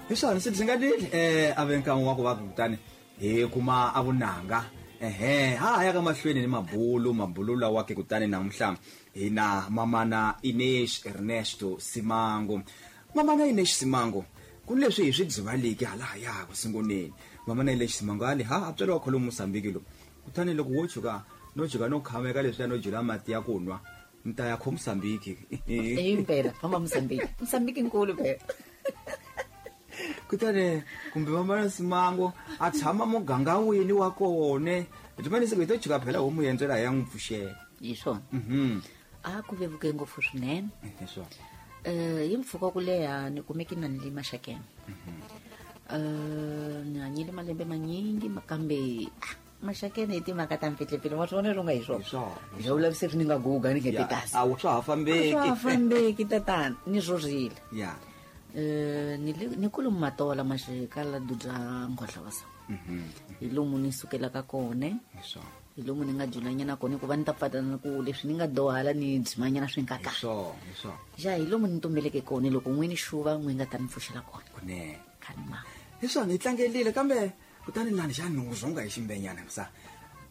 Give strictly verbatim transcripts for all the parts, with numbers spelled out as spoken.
Hi swona swi dzingalile eh a ve nkarhi wa ku va kutani hi kuma a vunanga. Ehe, ha ya ka mahlweni ni mabulu, mabulu lawa ke kutani namuntlha hi na mamana Ines Ernesto Simango. Mamana Ines Simango, ku leswi hi swi dzivaliki hala ya ku sunguleni. Mamana Ines Simango ali ha a tswariwa kholo Mozambique lo. Kutani loko wo tshuka no tshuka no khameka leswi no jula mati ya ku nwa, ni ta ya kho Mozambique. Impela, famba Mozambique. Mozambique nkulu phela. Kutani kumbe mamana Simango a tshama muganga wini wa kona. Rimani se ku to tshuka phela homu yendzela ya n'wi pfuxela. Hi swona. Mhm. A ku vevuke ngopfu swinene. Hi swona. Eh hi mpfhuka ku leha ni kumeke na ni le Maxakeni. Eh ni hanyile malembe manyingi kambe Maxakeni hi timhaka ta mpfihlepfile wa swona ronga hi swona. Hi swona. Hi vulavise swi ni nga guga ni nge kasi. A wu swa ha fambeki. A swa ha fambeki tatana ni rhurile. Ya. Eh ni ni kulu matola maxikala dudza ngohla wasa. Mhm. Hi lomu ni sukelaka kona. Hi swona. Hi lomu ni nga julanyana kona ku va ni ta pfatana ku leswi ni nga dohala ni dzimanyana swi nga Hi kahle. swona, hi swona. Ja hi lomu ni tumbeleke kona loko n'wini xuva n'wi nga ta ni pfuxela kona. Kunene. Khanima. Hi swona hi tlangelile kambe kutani lani xa ni zonga hi ximbenyana msa.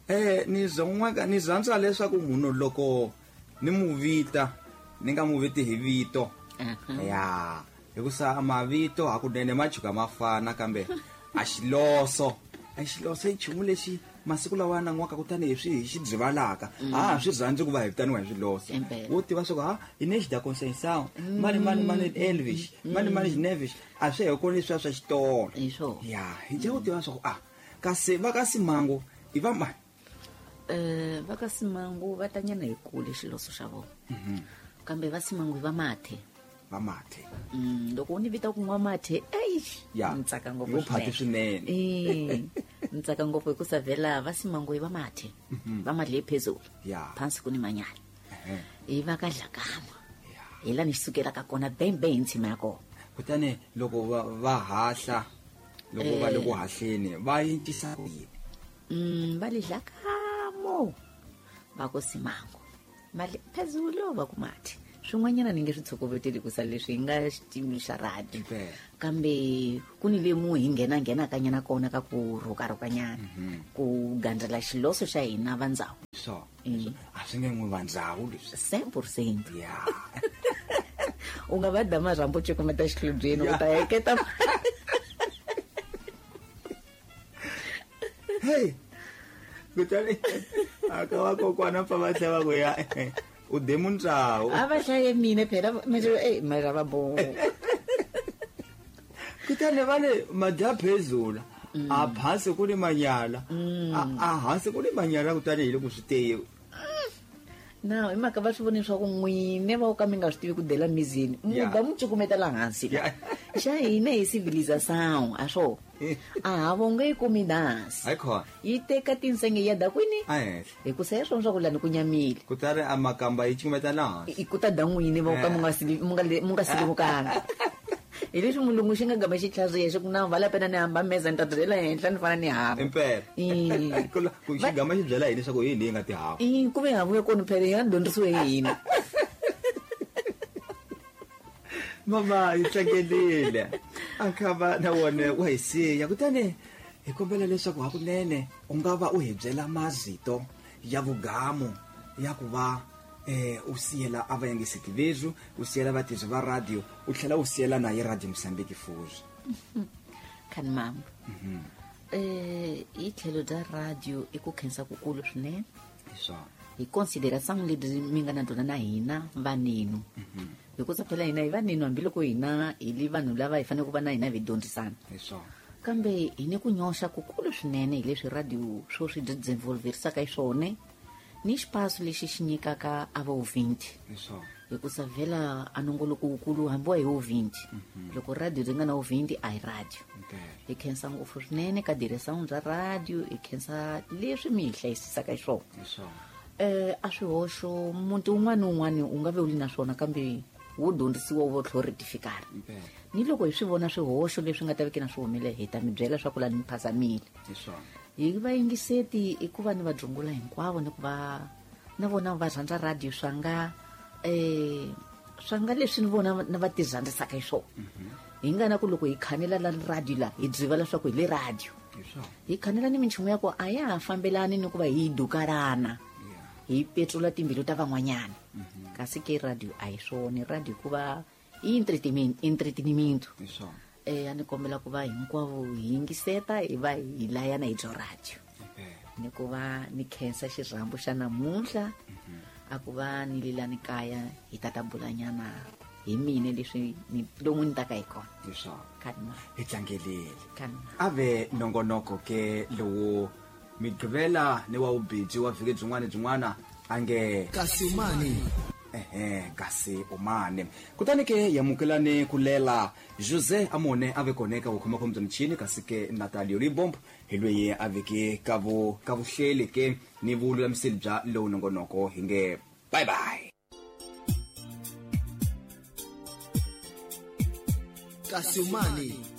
Eh ni zonga ni rhandza leswaku munhu loko ni mu vita ni nga mu viti hi vito. Ya. Hikusa mavito hakunene ma tshuka ma fana kambe a xiloso. A xiloso i nchumu lexi masiku lawa na n'waka kutani hi swi hi xi dzivalaka. A swi rhandzi ku va hi vitaniwa hi swiloso. Wo tiva swa ku ha Ines da Conceição, mani mani mani Elvis, mani mani Nevis, a swi hi kona leswiya swa xitolo. Hi swona. Ya, hi dya ku tiva swa ku a kasi va ka Simango i va mani? Eh va ka Simango va tanyana hi kule xiloso xa vona. Kambe va Simango i va mathe. Va mathe. Mm, loko u ni vita ku nwa mathe, ei, Ya. ni tsaka ngopfu Yo phati swinene. Eh, ni tsaka ngopfu hi ku savela va Simango i va mathe. Va madle phezulu. Ya. Phansi ku ni manyala. Ehe. I va ka Dlakama. Ya. Hi la ni sukelaka kona bembe hi ntshima ya kona. Kutani loko va va hahla, loko va le ku hahleni, va yintisa ku yini? Mm, va le Dlakamo. Va ku Simango. Mali phezulu va ku mathe. Swin'wanyana ni nge swi tshokoveteli ku sa leswi hi nga xitimi xa radio. Impela. Kambe ku ni lemu hi nghena nghenakanyana kona ka ku rhukarhukanyana. Ku gandzela xiloso xa hina va ndhawu. So, a swi nge n'wi va ndhawu leswi. cent pour cent. Ya. U nga va da marhambu cukumeta xihlobyeni u ta heketa. Hey. Kutani a ka va kokwana pfa va tlhela va ku ya. U de mundzhawu. A va hlaye mina phela manje eh mara va bo. Kutani va le madya phezulu. A phansi ku ni manyala. A a hansi ku ni manyala kutani hi le ku swi teye. Na hi mhaka va swi vone swa ku n'wine va ka mi nga swi tivi ku dela mizini. Mu Ya. ga mu cukumeta la hansi. Ya. Xa hina hi civilization a swo. A ha vonge yi kumi dansi. Hayi khona. Yi teka tinsenge ya da kwini? A henhla. Hi ku se swona swa ku lani ku nyamile. Kutani a makamba yi cukumeta la hansi. I ku ta da n'wini va ka mu nga sili mu nga le mu nga silimukanga. Hi leswi mulungu xi nga gama xi tlhaziya xi ku na vala pena ni hamba meza ni ta byela henhla ni fana ni hava. Impela. Eh. Ku la- ku xi gama xi byela yini leswaku yini leyi nga tihava? Eh, ku ve havu ya kona phela ya dyondzisiwe hi hina. Mama yi tlangelile. A kha va na wona wa hi siya. Kutani hi kombela leswaku hakunene u nga va u hi byela mazito ya vugamu ya ku va eh u siyela a va yingiseti vethu, u siyela vatirhi va radio, u tlhela u siyela na hi Radio Mozambique fuzi. Khani mama. Eh hi tlhelo bya radio i ku khensa kukulu swinene. Hi swona. Hi consideration lebyi mi nga na byona na hina vanenu. Hikusa phela hina hi vanenu hambiloko hina hi li vanhu lava hi fanele ku va na hina hi dyondzisana. Hi swona. Kambe hi ni ku nyoxa kukulu swinene hi leswi radio swo swi desenvolverisaka hi swona ni xipaso lexi xi nyikaka a va vinti. Hi swona. Hikusa vhela a nongoloko wukulu hambi wa hi wo vinti. Loko radio ri nga na wo vinti a hi radio. Impela. Hi khensa ngopfu swinene ka diresawu bya radio, hi khensa leswi mi hi hlayisisaka hi swona. Hi swona. Eh a swihoxo muti wun'wana ni wun'wana u nga ve u li na swona kambe wo dyondzisiwa wu va u tlhela u retifikara. Impela. Ni loko hi swi vona swihoxo leswi nga ta veki na swi humelela hi ta mi byela swa ku la ni mi phazamile. Hi swona. Hi vayingiseti i ku va ni va dzungula hinkwavo ni ku va na vona va rhandza radio swa nga eh Swa nga leswi ni vona na va tirhandzisaka hi swona. Hi nga na ku loko hi khanela la radio la hi driva leswaku hi le radio. Hi khanela ni minchumu ya ku a ya ha fambelani ni ku va hi dukarana. Hi petrula timbilu ta van'wanyana. Kasi ke radio a hi swona, radio ku va i entertainment, entretenimento. Hi swona. Eh a ni kombela ku va hinkwavo hi yingiseta hi va hi layana hi byo radio. Ni ku va ni khensa xirhambo xa namuntlha. A ku va ni lelani kaya hi ta ta bulanyana hi mina leswi ni lomu ni taka hi kona. Hi swona. Kanma. Hi tlangelele. Kanma. A ve nongonoko ke lowu Migqivela ni wa vubiji wa vhiki byin'wana byin'wana a nge Kasi umane. Ehe, kasi umane. Kutani ke yamukelani ku lela Jose Amone a ve kona eka vukhomakhoma bya michini, kasi ke Natalio Libombo hi loyi a veke ka vu ka vuhleli ke ni vululamiseli bya lowu nongonoko. Hi nge bye bye. Kasi umane.